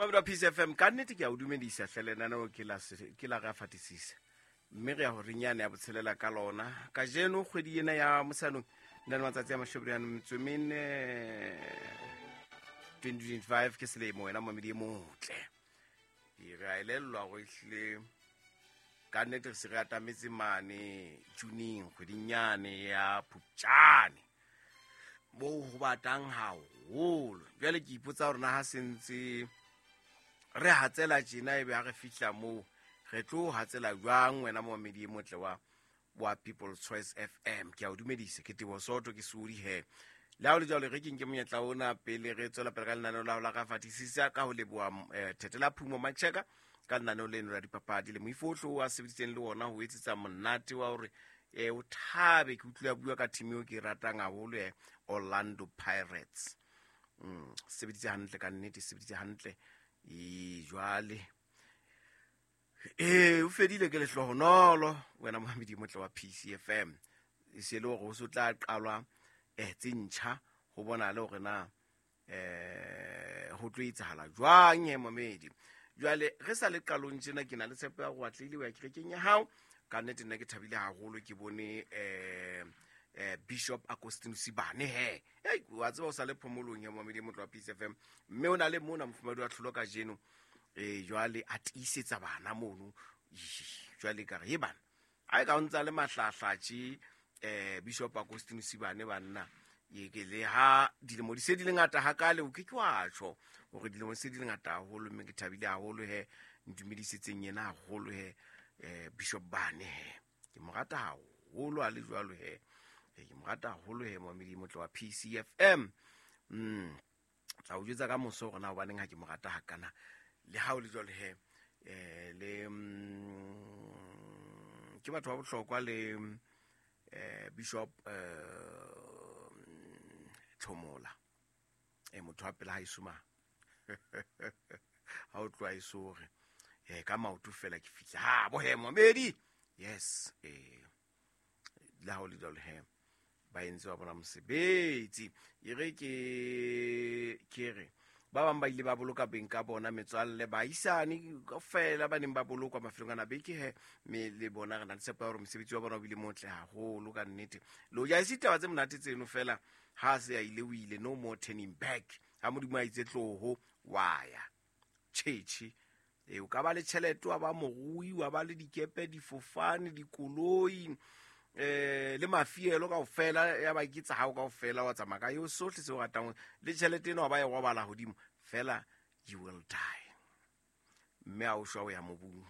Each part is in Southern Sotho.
Mamedi wa Peace FM, ka nnete ke a o dumedisa hle. Lenaneo ke la ke la re a fatisisa, mme re ya go renyane ya botshelela ka lona kajeno, kgwedi ena ya Motsheanong, na le matsatsi a 44, 2025 ke selemo. Wena mamedi e motle, re a elellwa go ehlile ka nnete re se re atametse mane Juning, kgwedinyane ya Phupjane, moo ho batang haholo. Jwale ke ipotsa gore na ha sentse re hatsela tjena, ebe ha re fihla moo re tlo hatsela jwang? Wena momamedi e motle wa People's Choice FM, ke a o dumedisa. Ke Tebo Soto, ke Sodi he. Le ha o le jwalo, re ke nke monyetla ona pele re tswela pele ka lenaneo la ho la ka fatisisa ka ho leboha Thetela Phumo Macheka ka lenaneo leno la dipapadi le moifo ohle o a sebeditseng le ona ho etsetsa monate wa hore o thabe. Ke utlwe a bua ka team eo ke e ratang haholo, Orlando Pirates. Sebeditse hantle ka nnete, sebeditse hantle. E jwale ee, o fedile ke lehlohonolo. Wena mohamedi motle wa PCFM, e se le hore ho se tla qalwa tse ntjha, ho bona le hore na ho tlo etsahala jwang. He momedi, jwale re sa le qalong tjena, ke na le tshepo ya gore atlehile o ya kerekeng ya hao. Ka nnete nna ke thabile haholo, ke bone Bishop Agustin Sibane he. Ei, wa tseba o sa le phomolong ya momedi motle wa Peace FM, mme o na le mona mofumadi wa tlholo kajeno. Jwale a tiisetsa bana mono. Jwale ka re he bana, a e ka o ntsa le mahlahlatše Bishop Agustin Sibane, banna ye ke le ha dilemo di se di le ngata hakale, o ke ke wa tjho hore dilemo se di le ngata haholo. Mme ke thabile haholo he, ntumedisitseng yena haholo he, Bishop Bane he, ke mo rata haholo a le jwalo he. Ke mo rata haholo he, momedi motle wa PCFM. Tla o jwetsa ka moso hore na hobaneng ha ke mo rata hakana. Le ha o le jwalo he, le ke batho ba bohlokwa le Bishop Tlhomola, motho wa pela ha esoma ha o tloha esore ka maoto fela ke fihla ha bo he momedi. Yes, le ha o le jwalo he, ba entse wa bona mosebetsi. E re ke re ba bang ba ile ba boloka beng ka bona, metswalle, baahisane kaofela ba neng ba bolokwa mafelong ana beke he, mme le bona re na le tshepo ya hore mosebetsi wa bona o bile motle haholo ka nnete. Le hoja e se ditaba tse monate tseno, fela ha se a ile, o ile, no more turning back. Ha Modimo a itse tloho, wa ya tjhetjhe. E o ka ba le tjhelete, wa ba morui, wa ba le dikepe, difofane, dikoloi, le mafielo kaofela, ya ba ke tsa hao kaofela, wa tsamaya ka eo sohle se o ratang le tjhelete eno, wa ba e robala hodimo fela, you will die. Mme ha o shwa, o ya mobung.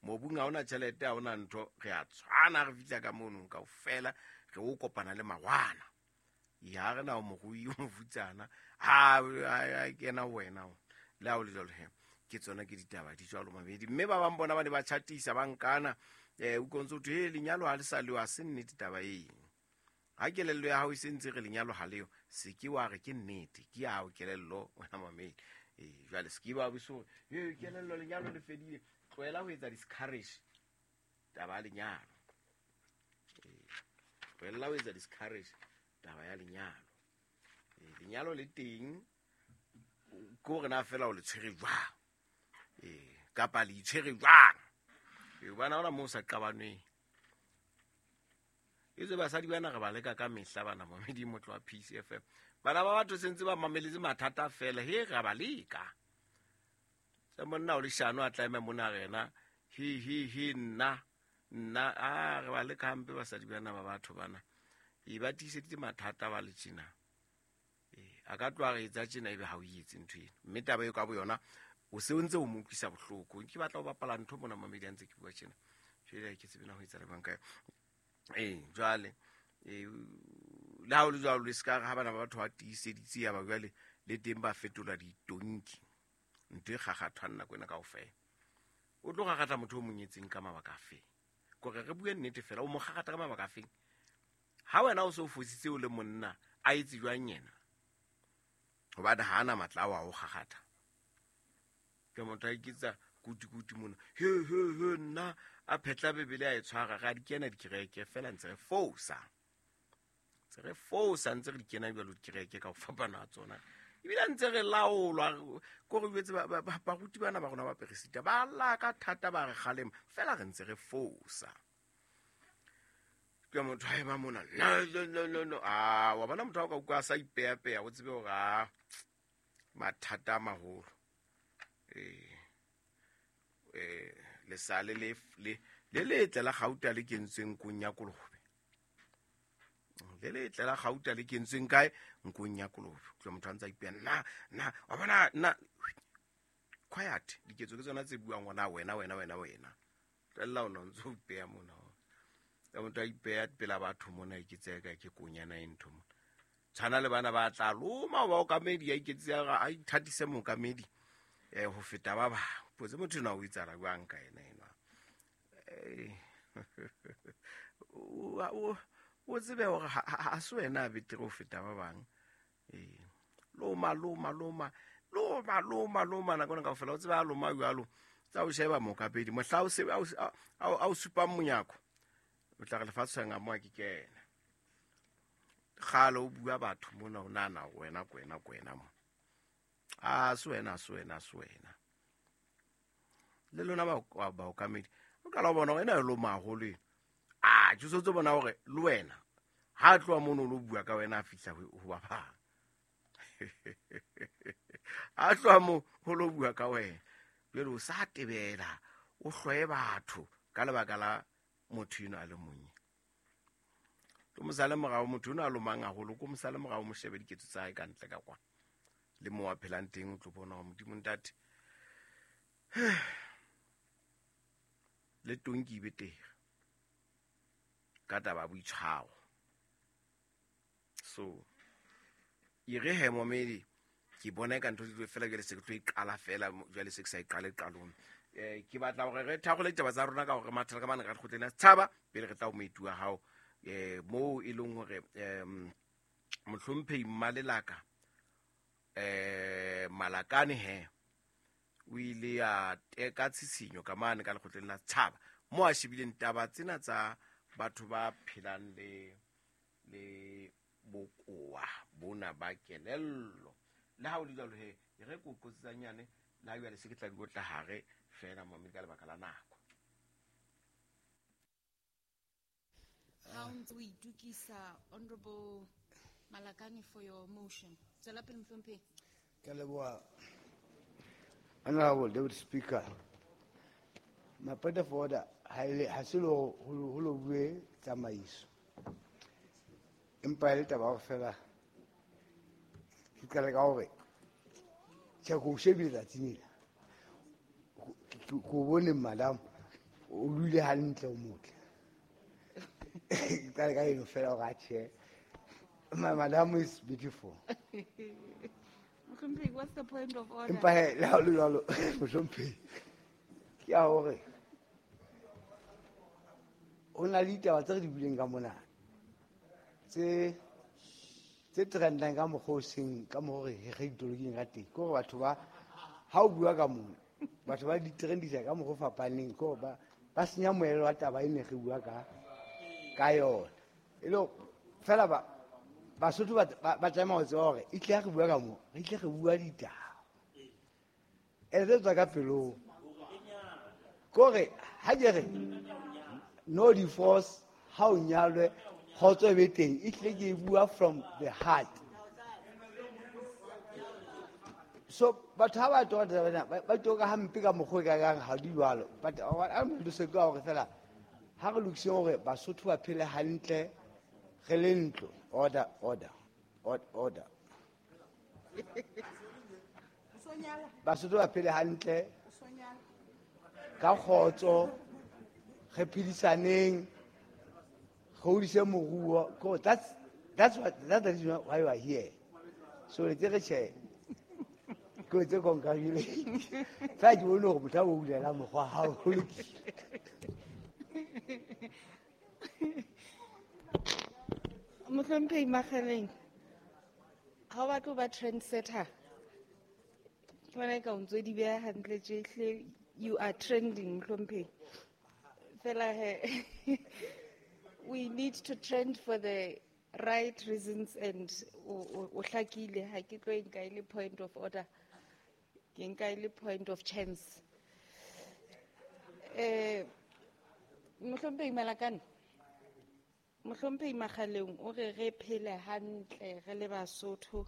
Mobung ha ona tjhelete, ha ona ntho. Re a tshwana, re fihla ka mono kaofela re o kopana le mawana. Ya re na o morui, o mofutsana, ha a kena wena. Le ha o le jwalo he, ke tsona ke ditaba di jwalo, mamedi. Mme ba bang bona ba ne ba chatisa, ba nkana, utlwa ntse ho thwe he lenyalo ha le sa leo. Ha se nnete taba eng. Ha kelello ya hao e se ntse re lenyalo ha leo, se ke wa re ke nnete. Ke ya hao kelello, wena mamedi. Jwale se ke ba buso he kelello lenyalo le fedile. Tlohela ho etsa discourage taba ya lenyalo. Tlohella ho etsa discourage taba ya lenyalo. Lenyalo le teng, ke hore na fela o le tshwere jwang, kapa le itshwere jwang. Hobane ha hona moo sa qabanweng etswe basadi bana re ba leka ka mehla bana. Mamedi motlo wa Peace FM, bana ba batho sentse ba mameletse mathata fela he, re ba leka tsa monna o leshano a tla ema mona rena he he he nna nna a re ba leka hampe basadi bana ba batho bana. E ba tiiseditse mathata ba le tjena. A ka tloha re etsa tjena, ebe ha o etse ntho eno, mme taba eo ka bo yona o se o ntse o mo utlwisa bohloko. Ke batla ho bapala ntho mona, mamedi, a ntse ke bua tjena. Jwale ke tsebe na ho etsa le banka. Jwale le ha o le jwalo, le se ka re ha bana ba batho ba tiiseditse, ya ba jwale le teng ba fetola ditonki, ntho e kgakgathwang nako ena kaofela. O tlo kgakgatha motho o monyetseng ka mabaka a feng? Kore re bue nnete fela, o mo kgakgatha ka mabaka a feng ha wena o se o fositse o le monna? A etse jwang yena? Hobane ha ana matla ao a o kgakgatha. Ke motho a iketsa kuti-kuti mona, he he he, nna a phetla Bebele a e tshwara. Re a di kena dikereke fela, ntse re fosa, ntse re fosa, ntse re di kena jwalo dikereke ka ho fapana ha tsona. Ebile a ntse re laolwa ko re jwetse baruti bana ba rona ba peresita ba lla ka thata ba re kgalema fela re ntse re fosa. Ke motho a ema mona no no no no no a wa bona motho a ka utlwa a sa ipeapeya o tsebe hore a mathata a maholo. Lesale le le letle la gauta le kentsweng nkong ya kolobe. Le letle la gauta le kentsweng kae? Nkong ya kolobe. Utlwa motho a ntse a ipeya nna nna wa bona nna quiet diketso ke tsona tse buang gona wena wena wena wena. Tlohella o no ntso ipeya mona. Ya motho a ipeya pela batho mona e ke tseka ke konyana e ntho mona. Tshwana le bana ba tla loma ba okamedi ya iketse a ithatise mookamedi ho feta ba bang. Potse motho ena o itsala jwang ka ena enwa. O tsebe hore ha se wena a betere ho feta ba bang. Loma loma loma loma loma loma nako ena kaofela o tsebe a loma jwalo. Tsa o sheba mookapedi mohla o se a o supang monyako. O tla re lefatshe nga mo a ke kena. Kgale o bua batho mona o nahana wena kwena kwena mo. A se wena se wena se wena. Le lona baokamedi o qala ho bona hore ena e loma haholo ena. A ke so tse bona hore le wena ha tloha mono o lo bua ka wena a fihla ho ba bang. A tloha mo ho lo bua ka wena. Jwale o sa tebela o hloye batho ka lebaka la motho eno a le monnye. Ke mosale morao motho eno a lomang haholo, ko mosale morao mo shebe diketso tsa hae ka ntle ka kwa. Le mo a phelang teng o tlo bona hore Modimo ntate. Le tonki e betere ka taba ya boitshwaro. So e re he momedi ke bona ka ntho tse fela jwale se ke tlo e qala fela jwale se ke sa e qale qalong. Ke batla hore re thakgole ditaba tsa rona ka hore mathata ka mane ka lekgotleng la setjhaba pele re tla ho moeti wa hao. Moo e leng hore mohlomphehi Mmalelaka Malakane he o ile a teka tshisinyo ka mane ka lekgotleng la setjhaba mo a shebileng taba tsena tsa batho ba phelang le bokowa bona ba kelello. Le ha o le jwalo he e re ko qotsitsanyane le ha jwale se ke tla di otla hare fela momedi ka lebaka la nako. Ha o ntse o itukisa Honorable Malakane for your motion. Tswela pele mohlomphehi. Ke a leboha Honorable Deputy Speaker. My point of order ha se le ho lo bue tsamaiso. Empa e le taba ya hore fela ke qale ka hore tjhe ke o shebile tsatsing lena. Ke o bone madam o dule hantle o motle. Ke qale ka eno fela hore atjhe. My madam is beautiful. Mohlomphehi, what's the point of order? Empa he le ha o le jwalo mohlomphehi ke ya hore ho na le ditaba tse re di buileng ka mona tse trendang ka mokgwa o seng ka mokgwa re ditoloking ka teng. Ke hore batho ba ha o bua ka mona batho ba di trendisa ka mokgwa o fapaneng, ke hore ba senya moelelo wa taba e ne re bua ka yona. E le fela ba Basotho ba tlameha ho tseba hore e tle ha re bua ka moo re tle re bua ditaba e tse tswa ka pelong. Ke hore ha ke re no divorce ha o nyalwe kgotso e be teng, e tle ke e bua from the heart. So batho ha ba toka taba ena ba toka hampe ka mokgwa e kakang ha di jwalo. But what I'm going to say ke hore fela ha re lokiseng hore Basotho ba phele hantle re le ntlo. Order, order, order. Basotho ba phele hantle ka kgotso, re phedisaneng, re hodise moruo. That's the reason why we are here. So le tere tjhe ke tse congratulate. Fa ke bone hore motho a o bulela mokgwa ha o lokile. Mohlomphehi Makgaleng, ha o batle ho ba trendsetter, ke bona eka o ntso di beha hantle tje, you are trending mohlomphehi. Fela he we need to trend for the right reasons and o hlakile, ha ke tlo e nka e le point of order, ke nka e le point of chance. Mohlomphehi Malakane, Mohlomphehi Makgaleng o re re phele hantle re le Basotho.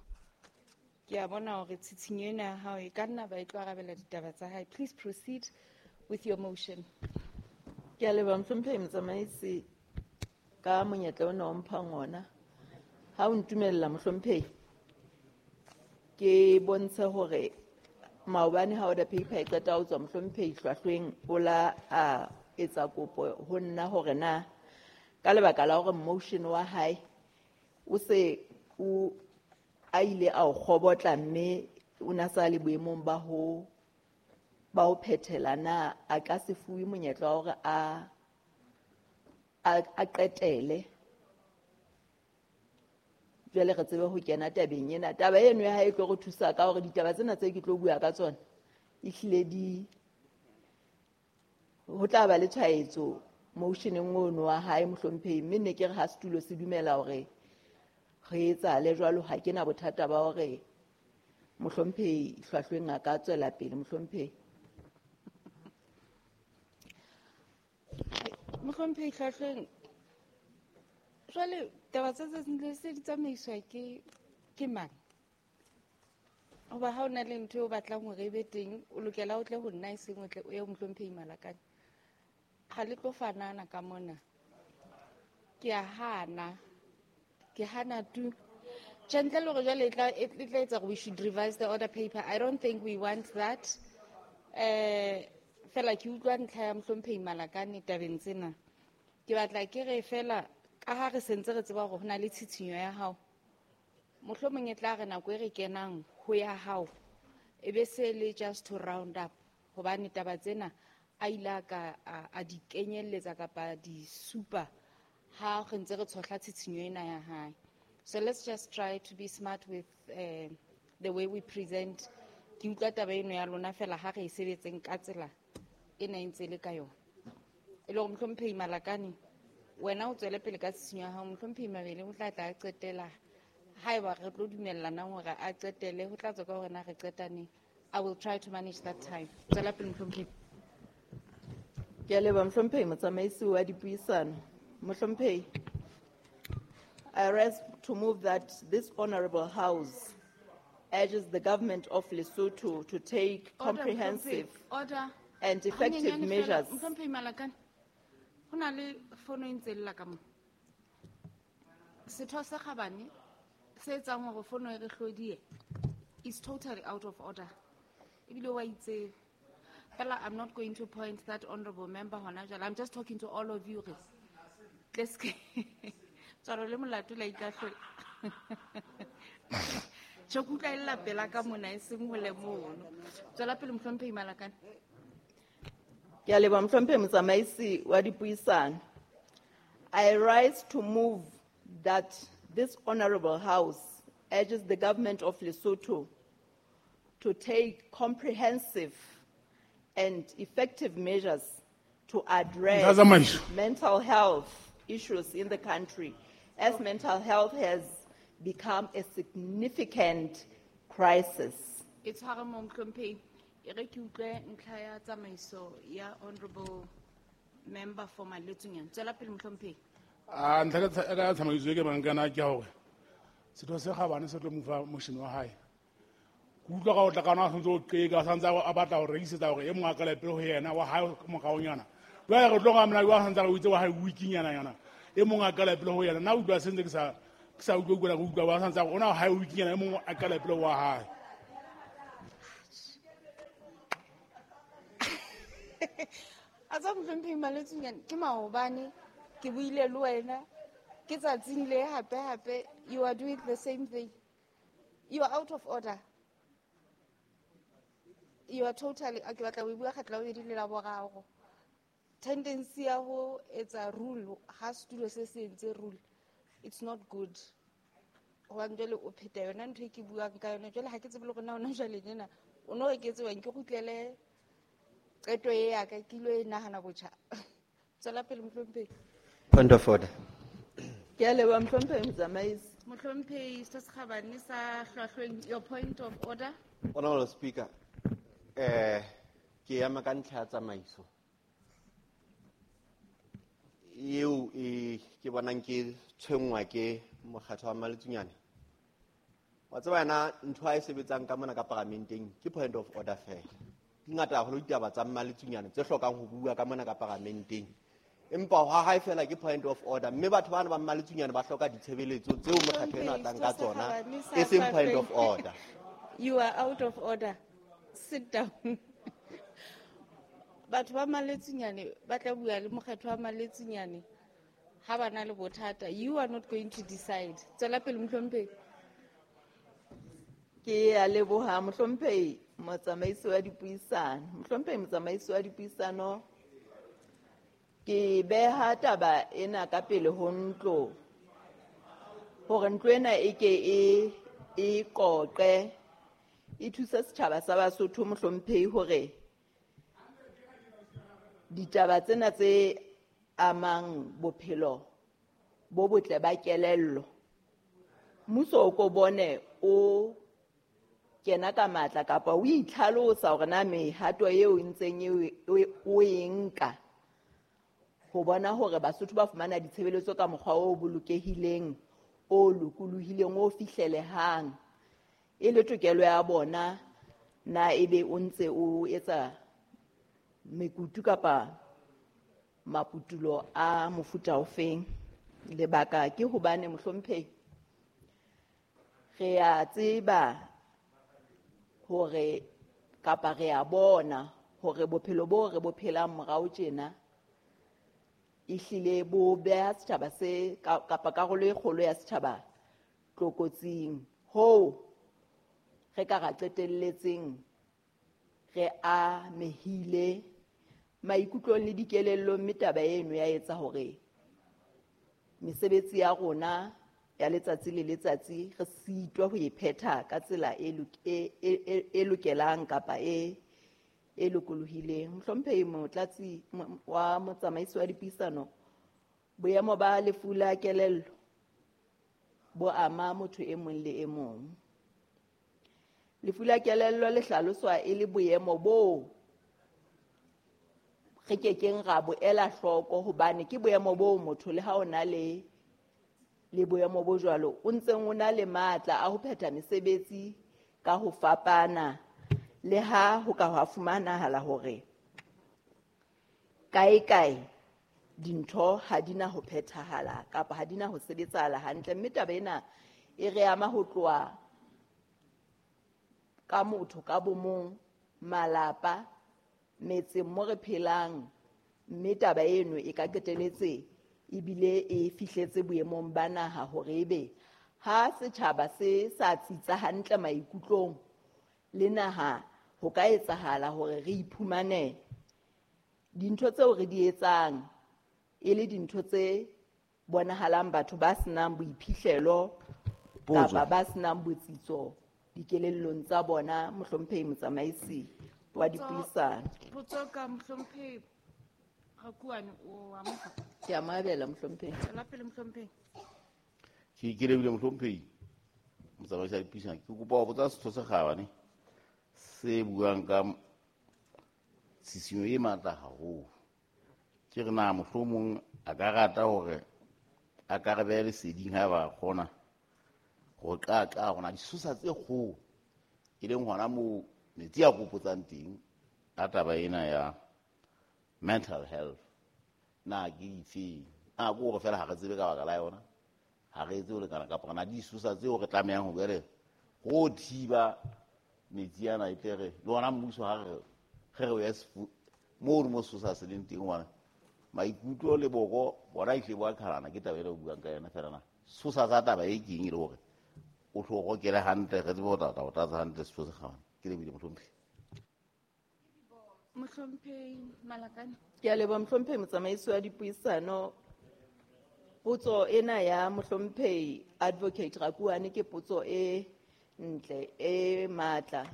Ke a bona hore tshitshinyo ena ya hao e ka nna ba e tlo arabela ditaba tsa hae. Please proceed with your motion. Ke a leboha Mohlomphehi Motsamaisi ka monyetla ona o mphang ona. Ha o ntumella Mohlomphehi, ke bontshe hore maobane ha order paper e qeta ho tswa Mohlomphehi Hlwahlweng o la a etsa kopo ho nna hore na ka lebaka la hore motion wa hae o se o a ile a o kgobotla mme o na sa le boemong ba ho phethela na a ka se fuwe monyetla wa hore a qetele. Jwale re tsebe ho kena tabeng ena. Taba eno ya hae e tlo re thusa ka hore ditaba tsena tse ke tlo bua ka tsona ehlile di ho tla ba le tshwaetso motioneng ono wa hae Mohlomphehi, mme ne ke re ha setulo se dumela hore re etsahale jwalo, ha ke na bothata ba hore Mohlomphehi Hlwahlweng a ka tswela pele Mohlomphehi. Mohlomphehi Hlwahlweng, jwale taba tsa tsatsing le se di tsamaiswa ke mang? Hoba ha o na le ntho eo o batlang hore e be teng, o lokela o tle ho nna e seng o tle o ye ho Mohlomphehi Malakane. Ha le tlo fanana ka mona. Ke a hana. Ke hana tu. Tjhe, ntle le hore jwale e tla etsa hore we should revise the order paper. I don't think we want that. Fela ke utlwa ntlha ya Mohlomphehi Malakane tabeng tsena. Ke batla ke re fela ka ha re sentse re tseba hore ho na le tshitshinyo ya hao, mohlomong e tla re nako e re kenang ho ya hao e be se le just to round up, hobane taba tsena a ile a ka a di kenyelletsa kapa di supa ha re ntse re tshohla tshitshinyo ena ya hae. So let's just try to be smart with the way we present. Ke utlwa taba eno ya lona fela ha re e sebetseng ka tsela ena e ntse le ka yona. E le hore Mohlomphehi Malakane, wena o tswele pele ka tshisinyo ya hao, Mohlomphehi Mabele o tla tla a qetela. Haeba re tlo dumellanang hore a qetele, ho tla tswa ka hore na re qeta neng. I will try to manage that time. Tswela pele Mohlomphehi. Ke a leboha Mohlomphehi Motsamaisi wa dipuisano. Mohlomphehi, I rise to move that this honorable house urges the government of Lesotho to take comprehensive order and effective measures. Mohlomphehi Malakane, ho na le fono e ntse lla ka mo. Setho sa Kgabane se etsang hore fono e re hlodie is totally out of order. Ebile wa itse fela, I'm not going to point that honorable member hona jwale. I'm just talking to all of you. Re tle se tswaro le molato la ikahlola. Tjhe, ke utlwa e lla pela ka mona e seng hole mono. Tswela pele Mohlomphehi Malakane. Ke a leboha Mohlomphehi Motsamaisi wa dipuisano. I rise to move that this honorable house urges the government of Lesotho to take comprehensive and effective measures to address mental health issues in the country, as mental health has become a significant crisis. E tshware mo Mohlomphehi. E re ke utlwe ntlha ya tsamaiso ya honorable member for Maletsunyane. Tswela pele Mohlomphehi. A ntlha ka tsamaiso e ke bang kana ke hore setho se Kgabane se tlo mo fa motion wa hae. Ke utlwa ka o tla kana a santse o qeka, a santse a batla ho rekisetsa hore e mong a qale pele ho yena wa hae moraonyana. Jwale re tlo ga mna wa santse a o itse wa hae weekinyana yana. E mong a qale pele ho yena. Nna utlwa sentse ke sa utlwa utlwa utlwa wa santse a ona hae weekinyana e mong a qale pele wa hae. A tsa Mohlomphehi Maletsunyane, ke maobane ke buile le wena, ke tsatsing le hape hape, you are doing the same thing. You are out of order. You are totally, ke batla ho bua kgetlo la bobedi le la boraro. Tendency ya ho etsa rule, ha setulo se se entse rule, it's not good. Hobane jwale o pheta yona ntho e ke buang ka yona. Jwale ha ke tsebe le hore na hona jwale tjena o no re ke tsebang ke kgutlele qeto e ya ka, ke ilo e nahana botjha. Tswela pele Mohlomphehi. Point of order. Ke a leboha Mohlomphehi Motsamaisi. Mohlomphehi Setho se Kgabane sa Hlwahlweng, your point of order. Honorable Speaker, ke ema ka ntlha ya tsamaiso eo e ke bonang ke tshwenngwa ke mokgatlo wa Maletsunyane. Wa tseba yena ntho a e sebetsang ka mona ka paramenteng ke point of order fela. Di ngata haholo ditaba tsa Maletsunyane tse hlokang ho bua ka mona ka paramenteng. Empa ha hae fela ke point of order, mme batho bana ba Maletsunyane ba hloka ditshebeletso tseo mokgatlo ena o tlang ka tsona, e seng point of order. You are out of order. Sit down. Batho ba Maletsunyane ba tla bua le mokgatlo wa Maletsunyane ha ba na le bothata. You are not going to decide. Tswela pele, mohlomphehi. Ke a leboha, mohlomphehi motsamaisi wa dipuisano. Mohlomphehi motsamaisi wa dipuisano, ke beha taba ena ka pele ho ntlo hore ntlo ena e ke e qoqe, e thuse setjhaba sa Basotho, mohlomphehi, hore ditaba tsena tse amang bophelo bo botle ba kelello, mmuso o ko bone o kena ka matla kapa o itlhalosa hore na mehato eo e ntseng o e nka ho bona hore Basotho ba fumana ditshebeletso ka mokgwa o bolokehileng, o lokolohileng, o fihlelehang, e le tokelo ya bona, na ebe o ntse o etsa mekutu kapa maputulo a mofuta ofeng. Lebaka ke hobane, mohlomphehi, re a tseba hore kapa re a bona hore bophelo bo re bo phelang morao tjena ehlile bo beha setjhaba se kapa karolo e kgolo ya setjhaba tlokotsing, hoo re ka ra qetelletseng re amehile maikutlong le dikelellong, mme taba eno ya etsa hore mesebetsi ya rona ya letsatsi le letsatsi re sitwa ho e phetha ka tsela e lokelang kapa e lokolohileng. Mohlomphehi motlatsi wa motsamaisi wa dipuisano, boemo ba lefu la kelello bo ama motho e mong le e mong. Lefu la kelello le hlaloswa e le boemo bo re kekeng ra bo ela hloko, hobane ke boemo bo motho le ha o na le boemo bo jwalo o ntseng o na le matla a ho phetha mesebetsi ka ho fapana, le ha ho ka hwa fumanahala hore kae kae dintho ha di na ho phethahala kapa ha di na ho sebetsahala hantle. Mme taba ena e re ama ho tloha ka motho ka bomong, malapa, metseng mo re phelang, mme taba eno e ka qeteletse ebile e fihletse boemong ba naha hore ebe ha setjhaba se sa tsitsa hantle maikutlong le naha, ho ka etsahala hore re iphumane dintho tseo re di etsang e le dintho tse bonahalang batho ba senang boiphihlelo kapa ba senang botsitso dikelellong tsa bona. Mohlomphehi motsamaisi wa dipuisano. Potso ka mohlomphehi Rakuane, o a mofa? Ke a mo abela, mohlomphehi. Tswela pele, mohlomphehi. Ke lebile, mohlomphehi motsamaisi wa dipuisano. Ke kopa ho botsa Setho se Kgabane se buang ka tshisinyo e matla haholo, ke re na mohlomong a ka rata hore a ka re behe leseding ha ba kgona ho qaqa hore na disosa tse kgolo e leng hona moo metsi a kopotsang teng a taba ena ya mental health na ke difeng? A ke hore fela ha re tsebe ka baka la yona, ha re etse ho lekana, kapa na disosa tseo re tlamehang ho jwale ho thiba metsi ana e tle re le ona mmuso ha re re o ya moo mo sesosa se leng teng, hobane maikutlo le boko bona ehlile bo a qhalana. Ke taba ena o buang ka yona fela, na sesosa sa taba e keng e le hore o tlo rokele hantle, re tsebe ho tla o tlatsa hantle Setho se Kgabane. Ke lebile, mohlomphehi. Mohlomphehi Malakane. Ke a leboha, mohlomphehi motsamaisi wa dipuisano. Potso ena ya mohlomphehi Advocate Rakuane ke potso e ntle e matla,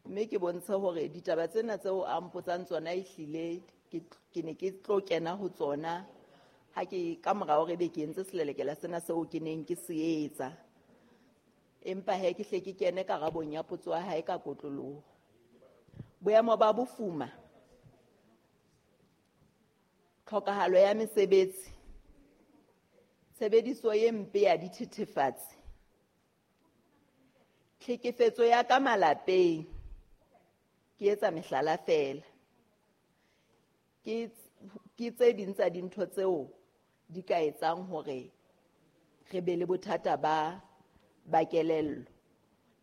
mme ke bontshe hore ditaba tsena tseo a mpotsang tsona ehlile ke ne ke tlo kena ho tsona Ha ke ka morao re be ke entse selelekela sena seo ke neng ke se etsa. Empa he ke hle ke kene karabong ya potso ya hae ka kotloloho. Boemo ba bofuma, tlhokahalo ya mesebetsi, tshebediso e mpe ya dithethefatsi, tlhekefetso ya ka malapeng, ke etsa mehlala feela. Ke tse ding tsa dintho tseo di ka etsang hore re be le bothata ba kelello.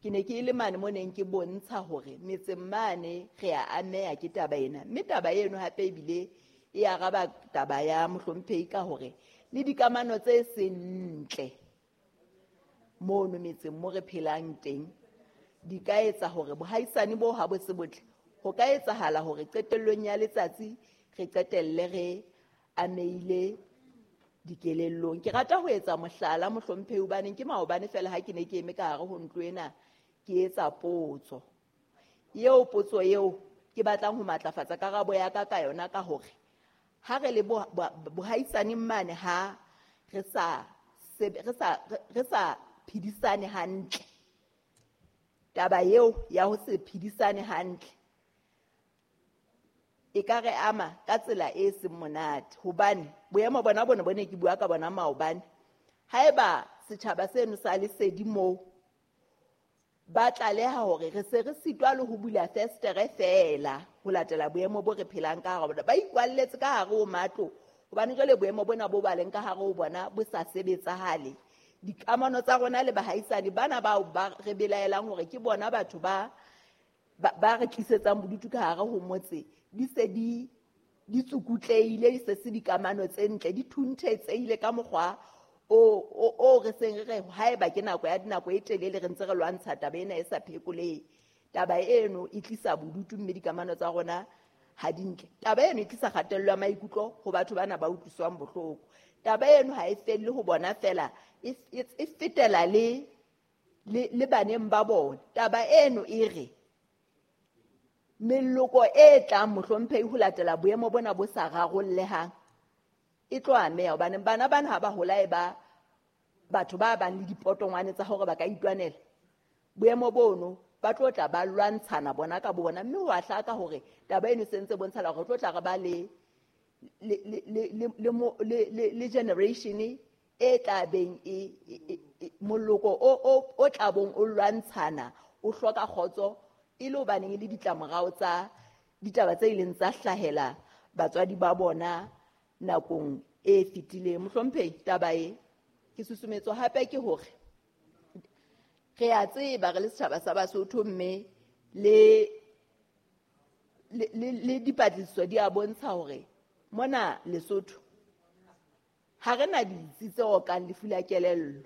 Ke ne ke le mane mo neng ke bontsha hore metseng mane re a ameha ke taba ena, mme taba eno hape ebile e araba taba ya mohlomphehi ka hore le dikamano tse seng ntle mono metseng mo re phelang teng di ka etsa hore bohaisane bo ha bo se botle. Ho ka etsahala hore qetellong ya letsatsi re qetelle re ameile dikelellong. Ke rata ho etsa mohlala mohlomphehi hobane ke maobane fela ha ke ne ke eme ka hare ho ntlo ena ke etsa potso. Eo potso eo ke batlang ho matlafatsa karabo ya ka ka yona ka hore ha re le bohaisaneng mane ha re sa phedisane hantle. Taba eo ya ho se phedisane hantle e ka re ama ka tsela e seng monate, hobane boemo bona bone bo ne ke bua ka bona maobane. Haeba setjhaba seno sa lesedi moo ba tlaleha hore re se re sitwa le ho bula festere feela ho latela boemo bo re phelang ka hare bona, ba ikwalletse ka hare ho matlo hobane jwale boemo bona bo ba leng ka hare ho bona bo sa sebetsahale. Dikamano tsa rona le bahaisane bana bao ba re belaelang hore ke bona batho ba re tlisetsang bodutu ka hare ho motse di se di tsukutleile, di se se dikamano tse ntle, di thunthetsehile ka mokgwa o re seng re haeba ke nako ya dinako e telele re ntse re lwantsha taba ena e sa phekolehe. Taba eno e tlisa bodutu mme dikamano tsa rona ha di ntle. Taba eno e tlisa kgatello ya maikutlo ho batho bana ba utlwiswang bohloko. Taba eno ha e felle ho bona fela, e fetela le baneng ba bona. Taba eno e re meloko e tlang mohlomphehi ho latela boemo bona bo sa rarollehang e tlo ameha, hobane bana bana ha ba hola e ba batho ba bang le dipotongwane tsa hore ba ka itwanela. Boemo bono ba tlo tla ba lwantshana bona ka bona, mme ho a hlaka hore taba eno se ntse bontshala hore tlo tla re ba le generation e tla beng e moloko o tla bong o lwantshana o hloka kgotso e le hobaneng le ditlamorao tsa ditaba tse ileng tsa hlahela batswadi ba bona nakong e fetileng. Mohlomphehi, taba e ke susumetso hape ke hore re a tseba re le setjhaba sa Basotho, mme le dipatlisiso di a bontsha hore mona Lesotho ha re na ditsi tse okang lefu la kelello.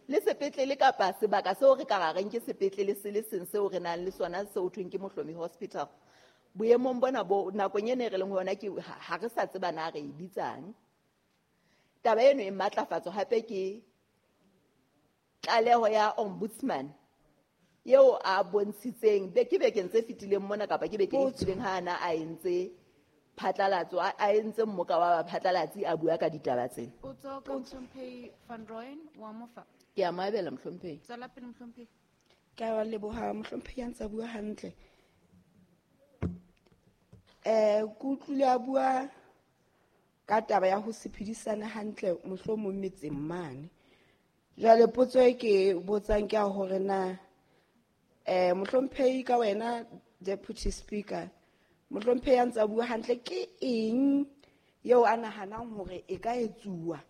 Le sepetlele kapa sebaka seo re ka reng ke sepetlele se le seng seo re nang le sona seo thweng ke Mohlomi Hospital. Boemong bona bo nakong ena re leng ho yona ke ha re sa tseba na re e bitsang. Taba eno e matlafatso hape ke tlaleho ya ombudsman eo a bontshitseng ke bekeng tse fetileng mona kapa ke bekeng e fetileng ha ana a entse phatlalatso, a entse mmoka wa baphatlalatsi a bua ka ditaba tsena. Potso ka Mohlomphehi Van Rooyen wa Mofa. Ke a mo abela mohlomphehi. Tswela pele mohlomphehi. Ke a leboha mohlomphehi a ntse bua hantle. Ke utlwile a bua ka taba ya ho se phedisane hantle mohlomong metseng mane. Jwale potso e ke botsang ke ya hore na mohlomphehi ka wena Deputy Speaker, mohlomphehi a ntse a bua hantle, ke eng eo a nahanang hore e ka etsuwa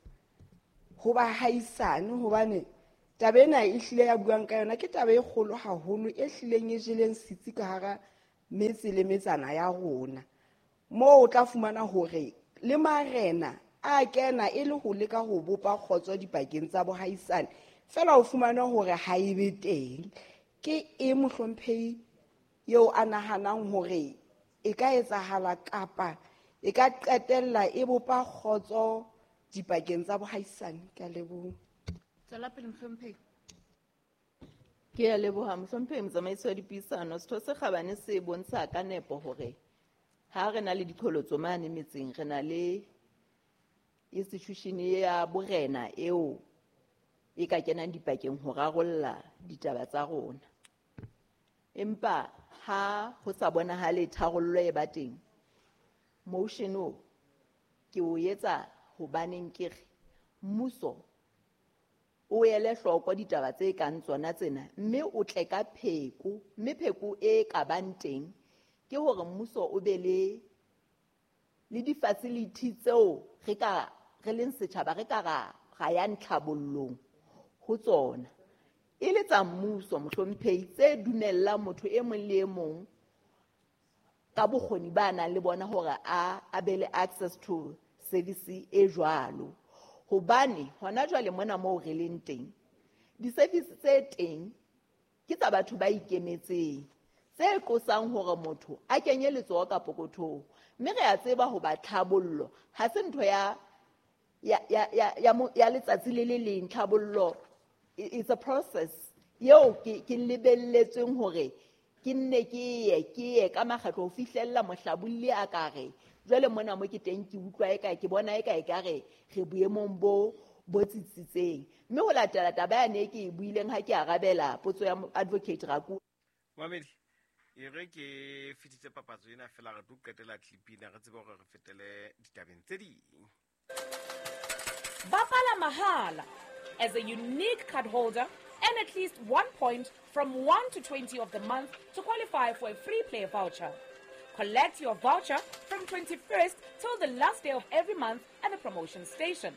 ho bahaisane? Hobane taba ena e hlile ya buang ka yona ke taba e kgolo haholo e hlileng e jeleng setsi ka hara metse le metsana ya rona, moo o tla fumana hore le marena a kena e le ho leka ho bopa kgotso dipakeng tsa bohaisane, fela o fumana hore ha e be teng. Ke e mohlomphehi eo a nahanang hore e ka etsahala kapa e ka qetella e bopa kgotso dipakeng tsa bohaisane? Ke a leboha. Tswela pele mohlomphehi. Ke a leboha mohlomphehi motsamaisi wa dipuisano. Setho se kgabane se bontsha ka nepo hore ha re na le diqholotso mane metseng, re na le institution ya borena eo e ka kenang dipakeng ho rarolla ditaba tsa rona. Empa ha ho sa bonahale tharollo e ba teng, motion o ke o etsa hobaneng ke re mmuso o ele hloko ditaba tse kang tsona tsena, mme o tle ka pheko, mme pheko e ka bang teng ke hore mmuso o be le di-facility tseo re ka re leng setjhaba re ka ra ya ntlhabollong ho tsona, e le tsa mmuso mohlomphehi, tse dumellang motho e mong le e mong ka bokgoni ba nang le bona hore a be le access to service e jwalo. Hobane hona jwale mona moo re leng teng, di-service tse teng ke tsa batho ba ikemetseng, tse qosang hore motho a kenye letsoho ka pokothong. Mme re a tseba hoba tlhabollo ha se ntho ya letsatsi le le leng. Tlhabollo it's a process eo ke lebelletsweng hore ke nne ke ye ka makgetlo ho fihlella mohlabolli a ka re jwale mona mo ke teng ke utlwa eka ke bona eka ekare re boemong bo tsitsitseng. Mme ho latela taba yane ke e buileng ha ke arabela potso ya Advocate Raku. Mamedi, e re ke fetise papatso ena fela re tlo qetela clip ena re tsebe hore re fetele ditabeng tse ding. Bapala mahala as a unique card holder and at least 1 point from 1 to 20 of the month to qualify for a free play voucher. Collect your voucher from 21st till the last day of every month at the promotion station.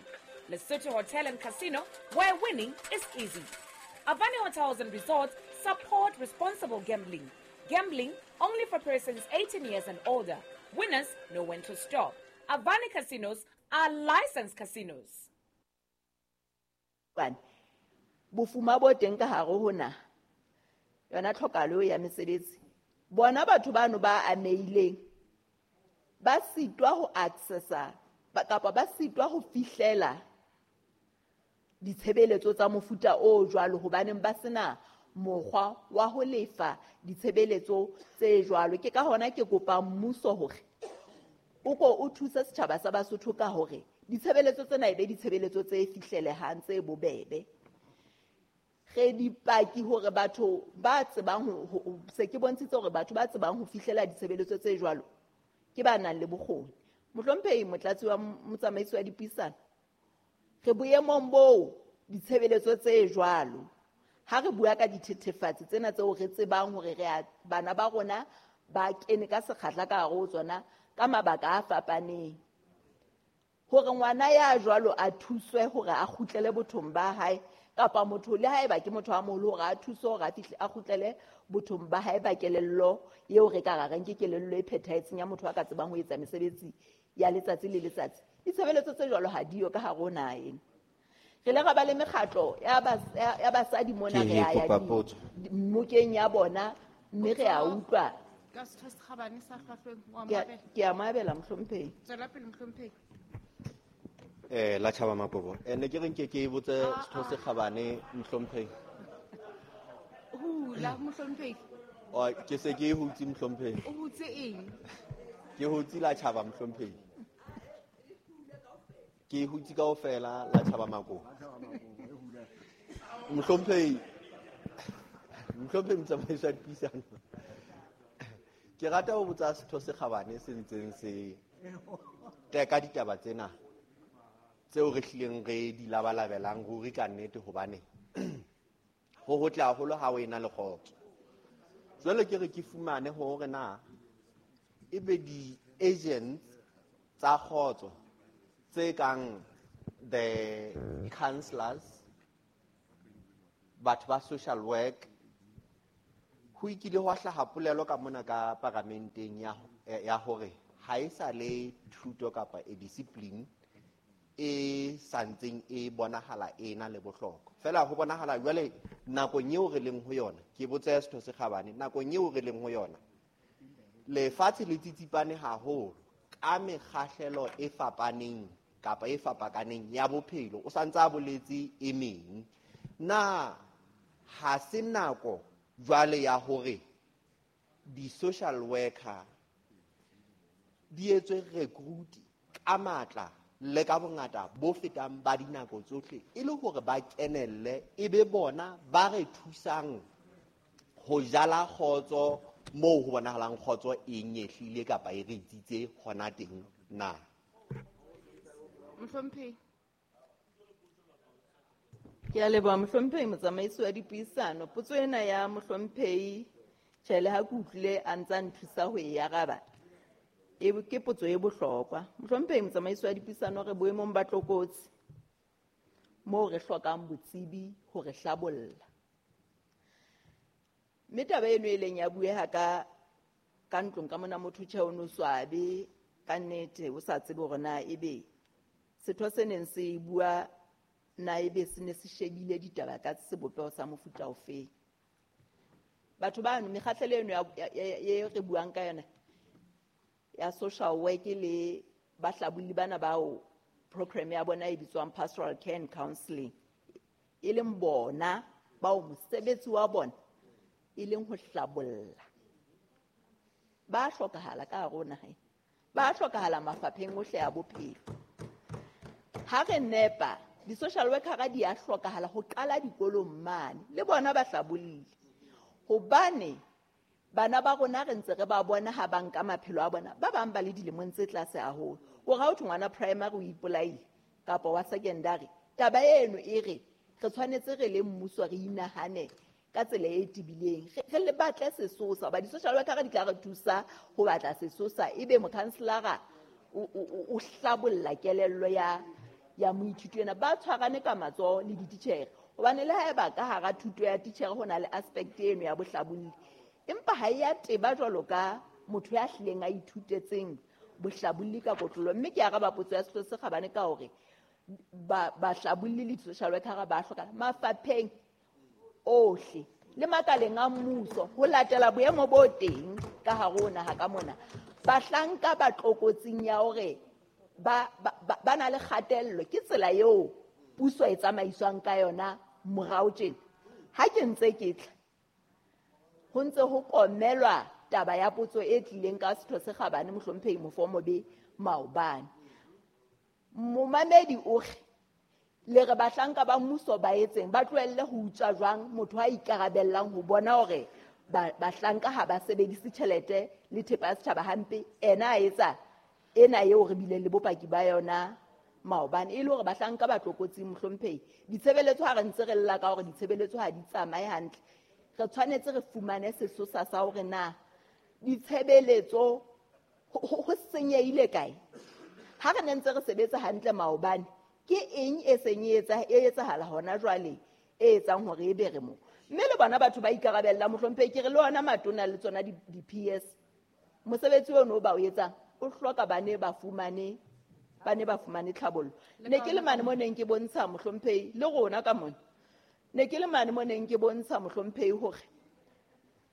Lesotho Hotel and Casino, where winning is easy. Avani Hotels and Resorts support responsible gambling. Gambling only for persons 18 years and older. Winners know when to stop. Avani Casinos are licensed casinos. Bofuma bo teng ka hare ho naha, yona tlhokahalo ya mesebetsi, bona batho bano ba ameileng ba sitwa ho accessa kapa ba sitwa ho fihlela ditshebeletso tsa mofuta o jwalo hobaneng ba sena mokgwa wa ho lefa ditshebeletso tse jwalo. Ke ka hona ke kopa mmuso hore o ko o thuse setjhaba sa Basotho ka hore ditshebeletso tsena e be ditshebeletso tse fihlelehang, tse bobebe. Re dipaki hore batho ba tsebang ho se ke bontshitse hore batho ba tsebang ho fihlela ditshebeletso tse jwalo ke ba nang le bokgoni. Mohlomphehi Motlatsi wa Motsamaisi wa Dipuisano, re boemong boo ditshebeletso tse jwalo ha re bua ka dithethefatsi tsena tseo re tsebang hore re bana ba rona ba kene ka sekgahla ka hare ho tsona ka mabaka a fapaneng, hore ngwana ya jwalo a thuswe hore a kgutlele bothong ba hae, kapa motho le haeba ke motho a moholo hore a thuswe hore a fihle a kgutlele bothong ba hae ba kelello eo re ka rareng ke kelello e phethahetseng ya motho a ka tsebang ho etsa mesebetsi ya letsatsi le letsatsi. Ditshebeletso tse jwalo ha diyo ka hare ho naha ena. Re le ra ba le mekgatlo ya basadi mona re ya mmokeng ya bona, mme re a utlwa. Ka setho se kgabane sa hlwahlweng, wa mo abela. Ke a mo abela mohlomphehi. Tswela pele mohlomphehi. La tjhaba mapopo. Ne ke re nke ke botse setho se kgabane mohlomphehi. Hula mohlomphehi. O ke se ke hutse mohlomphehi. O hutse eng? Ke hutse la tjhaba mohlomphehi. Ke hutse kaofela la tjhaba makopo. Mohlomphehi. Mohlomphehi motsamaisi wa dipuisano. Ke rata ho botsa setho se kgabane se ntseng se teka ditaba tsena tseo re hlileng re di labalabelang ruri ka nnete, hobane ho hotle haholo ha o ena le kgotso. Jwale ke re ke fumane hore na ebe di-agents tsa kgotso tse kang the counselors, batho ba social work, ho ikile hwa hlaha polelo ka mona ka paramenteng ya hore ha e sa le thuto kapa e discipline e santseng e bonahala e na le bohlokwa. Fela ho bonahala jwale nakong eo re leng ho yona, ke botse setho se kgabane, nakong eo re leng ho yona lefatshe le tsitsipane haholo ka mekgahlelo e fapaneng kapa e fapakaneng ya bophelo, o santse a boletse e meng. Na ha se nako jwale ya hore di-social worker di etswe recruit ka matla le ka bongata bo fetang ba dinako tsohle e le hore ba kenelle e be bona ba re thusang ho jala kgotso moo ho bonahalang kgotso e nyehlile kapa e re itsitse hona teng na? Mohlomphehi. Ke a leboha mohlomphehi motsamaisi wa dipuisano. Potso ena ya mohlomphehi tjhe le ha ke utlwile a ntsa nthusa ho e araba, ke potso e bohlokwa. Mohlomphehi motsamaisi wa dipuisano, re boemong ba tlokotsi moo re hlokang botsebi ho re hlabolla. Mme taba eno e leng ya bueha ka ntlong ka mona, motho tjhe o no swabe ka nnete, o sa tsebe hore na ebe setho se neng se bua na ebe se ne se shebile ditaba ka sebopeho sa mofuta ofeng. Batho bano mekgahlelo eno e re buang ka yona ya social work le bahlabolli bana bao program ya bona e bitswang pastoral care and counseling, e leng bona bao mosebetsi wa bona e leng ho hlabolla. Ba hlokahala ka hare ho naha ena, ba hlokahala mafapheng ohle a bophelo. Ha re nepa di-social worker di a hlokahala ho qala dikolong mane, le bona ba hlabollile, hobane bana ba rona re ntse re ba bona ha ba nka maphelo a bona, ba bang ba le dilemong tse tlase haholo. O ra ho thwe ngwana primary o ipolaile kapa wa secondary, taba eno e re re tshwanetse re le mmuso re inahane ka tsela e tebileng, re le batle sesosa, hoba di-social worker di tla re thusa ho batla sesosa, ebe mokhanselara o hlabolla kelello ya moithuti ena. Ba tshwarane ka matsoho le dititjhere, hobane le haeba ka hara thuto ya titjhere ho na le aspect eno ya bohlabolli, empa ha e a teba jwalo ka motho ya hlileng a ithutetseng bohlabolli ka kotlolo. Mme ke araba potso ya Setho se Kgabane ka hore bahlabolli le di-social worker ba hlokahala mafapheng ohle le makaleng a mmuso ho latela boemo bo teng ka hare ho naha ka mona. Bahlanka ba tlokotsing ya hore ba na le kgatello, ke tsela eo puso e tsamaiswang ka yona morao tjena. Ha ke ntse ke tla, ho ntse ho komelwa taba ya potso e tlileng ka Setho se Kgabane mohlomphehi Mofomobe maobane. Momamedi o re le re bahlanka ba mmuso ba etseng, ba tlohelle ho utswa jwang motho a ikarabellang ho bona hore bahlanka ha ba sebedise tjhelete le thepa ya setjhaba hampe, ena a etsa ena eo re bileng le bopaki ba yona maobane, e le hore bahlanka ba tlokotsing mohlomphehi. Ditshebeletso ha re ntse re lla ka hore ditshebeletso ha di tsamaye hantle, re tshwanetse re fumane sesosa sa hore na ditshebeletso ho senyehile kae. Ha re ne ntse re sebetsa hantle maobane, ke eng e seng e etsahala hona jwale e etsang hore e be re mo? Mme le bona batho ba ikarabella mohlomphehi, ke re le ona matona le tsona di-PS, mosebetsi ono o ba o etsang o hloka ba ne ba fumane tlhabollo. Ne ke le mane mo neng ke bontsha mohlomphehi le rona ka mona, ne ke le mane mo neng ke bontsha mohlomphehi hore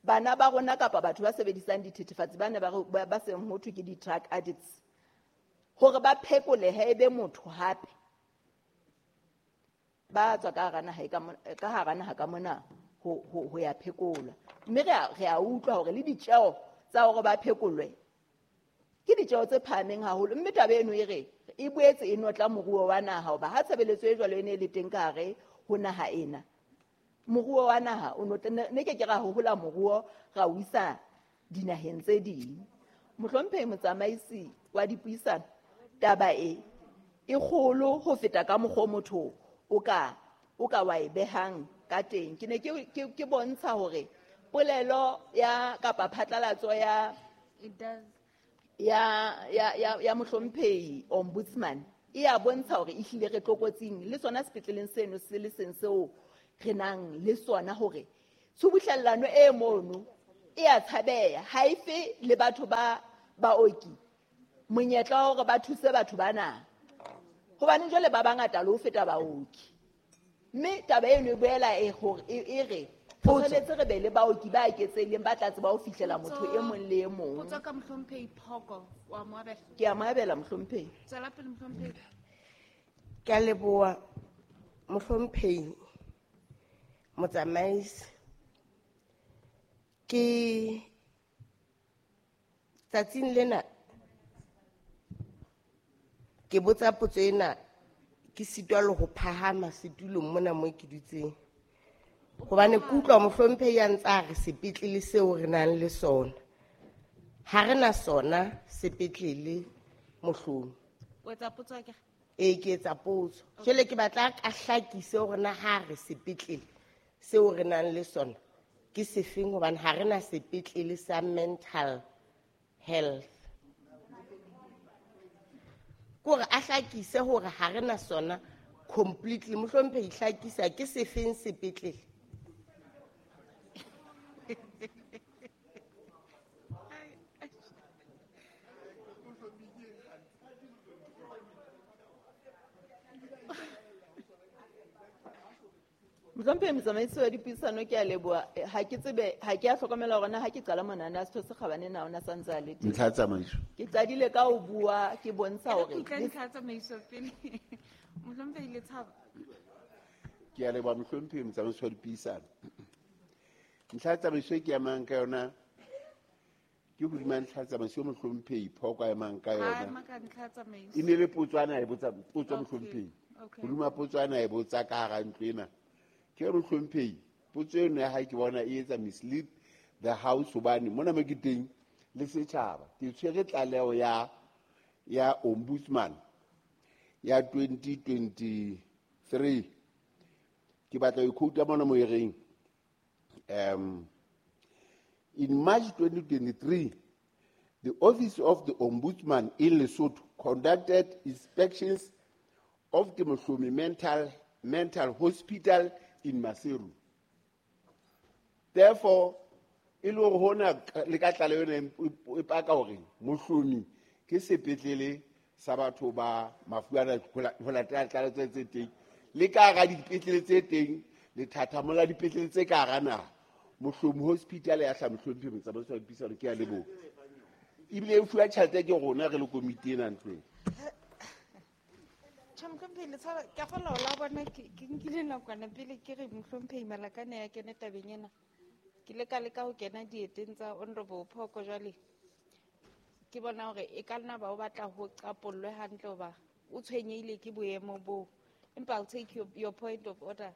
bana ba rona kapa batho ba sebedisang dithethefatsi ba ne ba seng ho thwe ke di-drug addicts, hore ba phekolehe e be motho hape, ba tswa ka hara naha ka mona ho ya phekolwa. Mme re a utlwa hore le ditjeo tsa hore ba phekolwe ke ditjeo tse phahameng haholo. Mme taba eno e re e boetse e notla moruo wa naha, hoba ha tshebeletso e jwalo e ne e le teng ka hare ho naha ena, moruo wa naha o ne ke ke ra hohola moruo ra o isa dinaheng tse ding. Mohlomphehi motsamaisi wa dipuisano, taba e kgolo ho feta ka mokgwa motho o ka wa e behang ka teng. Ke ne ke bontsha hore polelo ya kapa phatlalatso ya ya mohlomphehi ombudsman e a bontsha hore ehlile re tlokotsing le sona sepetleleng seno se le seng seo re nang le sona, hore tshubuhlellano e mono e a tshabeha, ha e fe le batho ba baoki monyetla wa hore ba thuse batho bana, hobane jwale ba bangata le ho feta baoki. Mme taba eno e boela e hore e re tshwanetse re be le baoki ba eketsehileng ba tla tseba ho fihlela motho e mong le e mong. Potso ka mohlomphehi Phoko, wa mo abela? Ke a mo abela mohlomphehi. Tswela pele mohlomphehi. Ke a leboha mohlomphehi motsamaisi. Ke tsatsing lena Ke botsa potso ena ke sitwa le ho phahama setulong mona mo ke dutseng. Hobane ke utlwa mohlomphehi ya ntse a re sepetlele seo re nang le sona. Ha re na sona sepetlele Mohlomi. O etsa potso akere? Ee, ke etsa potso. Jwale ke batla a hlakise hore na ha re sepetlele seo re nang le sona ke sefeng, hobane ha re na sepetlele sa mental health. Ke hore a hlakise hore ha re na sona completely. Mohlomphehi, hlakisa ke sefeng sepetlele? Mohlomphehi motsamaisi wa dipuisano, ke a leboha. Ha ke tsebe, ha ke a hlokomela hore na ha ke qala monana setho se kgabane na ona sa ntse a le teng. Ntlha ya tsamaiso. Ke qadile ka ho bua, ke bontsha E re hore ke utlwe le ntlha ya tsamaiso pele. Mohlomphehi Letshaba. Ke a leboha mohlomphehi motsamaisi wa dipuisano. Ntlha ya tsamaiso e ke emang ka yona ke hodima ntlha ya tsamaiso e mohlomphehi Phoko a emang ka Ha yona. ema ka ntlha ya tsamaiso. E ne le potso ana a e botsa, potso Okay, mohlomphehi. okay. Hodima potso ana a e botsa ka hara ntlo ena. Ke re mohlomphehi, potso eno ya hae ke bona e etsa mislead the house, hobane mona mo ke teng le setjhaba. Ke tshwere tlaleho ya ombudsman ya 2023. Ke batla ho quote mona mo e reng, in March 2023, the Office of the Ombudsman in Lesotho conducted inspections of the Mohlomi Mental Hospital in Maseru. Therefore, e le hore hona le ka tlaleho ena e paka hore Mohlomi ke sepetlele sa batho ba mafu ana ho latela tlaleho tse teng. Le ka hara dipetlele tse teng, lethathamo la dipetlele tse ka hara naha, Mohlomi Hospital ya hlaha mohlomphehi motsamaisi wa dipuisano, ke a leboha. Ebile e fuwa tjhelete ke rona re le komiti ena ntlong. Tjhe, mohlomphehi Letshaba, ke a kgolwa hore la bona ke nkile nakwana pele ke re mohlomphehi Malakane ya kene tabeng ena. Ke ile ka leka ho kena dieteng tsa Honorable Phoko jwale. Ke bona hore e ka nna ba o batla ho qapollwe hantle hoba o tshwenyehile ke boemo boo. Empa I'll take your point of order.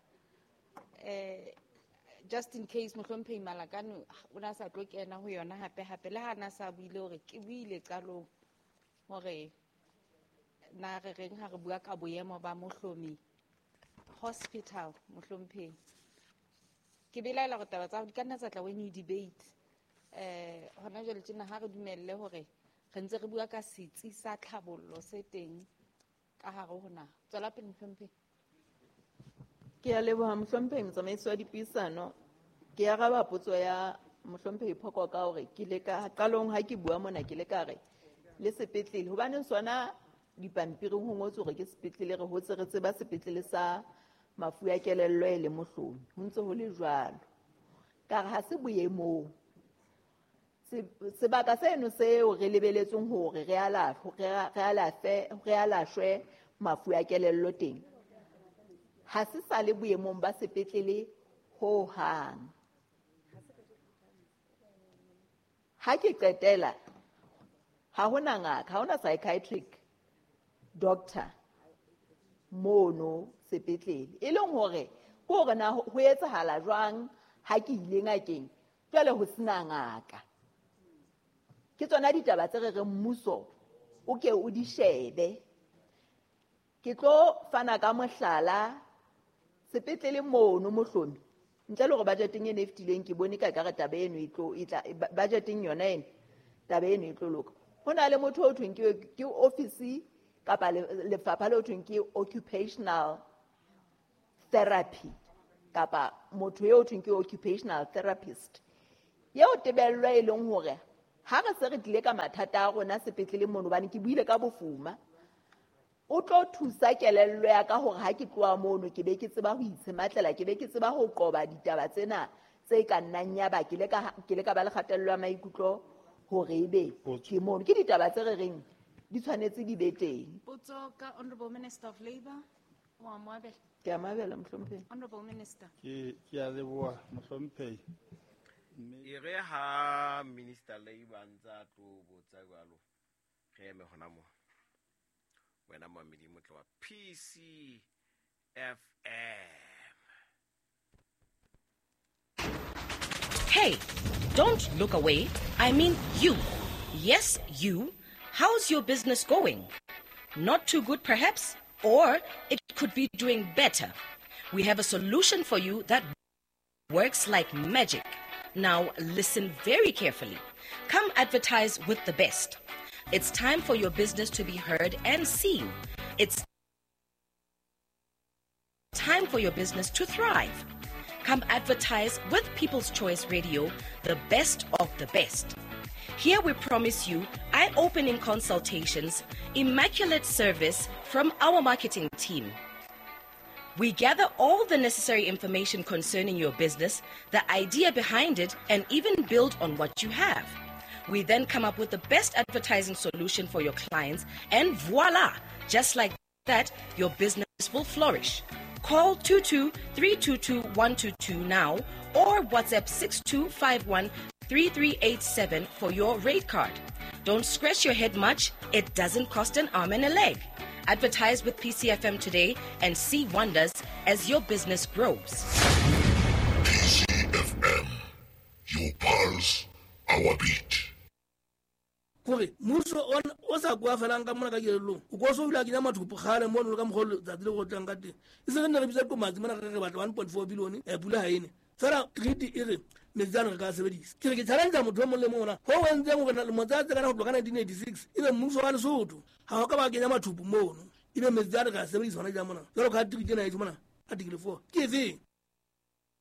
Just in case mohlomphehi Malakane o na sa tlo kena ho yona hape hape, le ha na sa buile hore ke buile qalong hore na re reng ha re bua ka boemo ba Mohlomi Hospital mohlomphehi. Ke belaela hore taba tsa hao di ka nna tsa tla when you debate. Hona jwale tjena ha re dumelle hore re ntse re bua ka setsi sa tlhabollo se teng ka hare ho naha. Tswela pele mohlomphehi. Ke a leboha mohlomphehi motsamaisi wa dipuisano. Ke araba potso ya mohlomphehi Phoko ka hore ke le ka qalong ha ke bua mona ke le ka re le sepetlele, hobane sona dipampiring ho ngotswe hore ke sepetlele, re hotse re tseba sepetlele sa mafu a kelello e le Mohlomi, ho ntse ho le jwalo. Ka re ha se boemong. Sebaka seno seo re lebeletseng hore re re alafwe mafu a kelello teng, ha se sa le boemong ba sepetlele ho hang. Ha ke qetela, ha hona ngaka, ha hona psychiatric doctor mono sepetlele. E leng hore ke hore na ho etsahala jwang ha ke ile ngakeng jwale ho sena ngaka. Ke tsona ditaba tse re reng mmuso o ke o di shebe. Ke tlo fana ka mohlala sepetlele mono Mohlomi, ntle le hore budgeteng eno e fetileng ke bone ka ekare taba eno e tlo, e tla, e ba, budgeteng yona eno, taba eno e tlo loka. Ho na le motho o thweng ke office kapa lefapha le ho thweng ke occupational therapy, kapa motho eo thweng ke occupational therapist. Eo tebello e leng hore ha re se re tlile ka mathata a rona sepetlele mono, hobane ke buile ka bofuma, o tlo thusa kelello ya ka hore ha ke tloha mono ke be ke tseba ho itshematlela, ke be ke tseba ho qoba ditaba tsena tse ka nnang ya ba ke le ka ba le kgatello ya maikutlo hore ebe Potso. ke mono. Ke ditaba tse re reng di tshwanetse di be teng. Potso ka Honorable Minister of Labour, wa mo abela. Ke a mo abela, mohlomphehi. Honorable Minister. Ke a leboha, mohlomphehi. E re ha Minister Labour a ntse a tlo botsa jwalo, re eme hona moo. Wena momamedi motle wa PCFM. Hey, don't look away. I mean you. Yes, you. How's your business going? Not too good, perhaps? Or it could be doing better. We have a solution for you that works like magic. Now, listen very carefully. Come advertise with the best. It's time for your business to be heard and seen. It's time for your business to thrive. Come advertise with People's Choice Radio, the best of the best. Here we promise you eye-opening consultations, immaculate service from our marketing team. We gather all the necessary information concerning your business, the idea behind it, and even build on what you have. We then come up with the best advertising solution for your clients, and voila! Just like that, your business will flourish. Call 22-322-122 now or WhatsApp 6251-3387 for your rate card. Don't scratch your head much. It doesn't cost an arm and a leg. Advertise with PCFM today and see wonders as your business grows. PCFM, your pulse, our beat. Kore mmuso o sa kwa felang ka mona ka kelellong o ko so o ile a kenya mathupo kgale mono le ka mokgwa o letsatsi le go tlang ka teng e se re nne re bitsa komatsi mona re re batla 1.4 billion pula ha ene fela treaty e re metsi ano re ka sebedisa. Ke re ke challenge motho o mong le mong ona ho o entseng hore lemo tsa tse kana ho tloha ka 1986 ebe mmuso wa Lesotho ha o ka ba kenya mathupo mono ebe metsi ano re ka sebedisa hona jang mona jwalo ka treaty ena e mona article 4 ke efeng.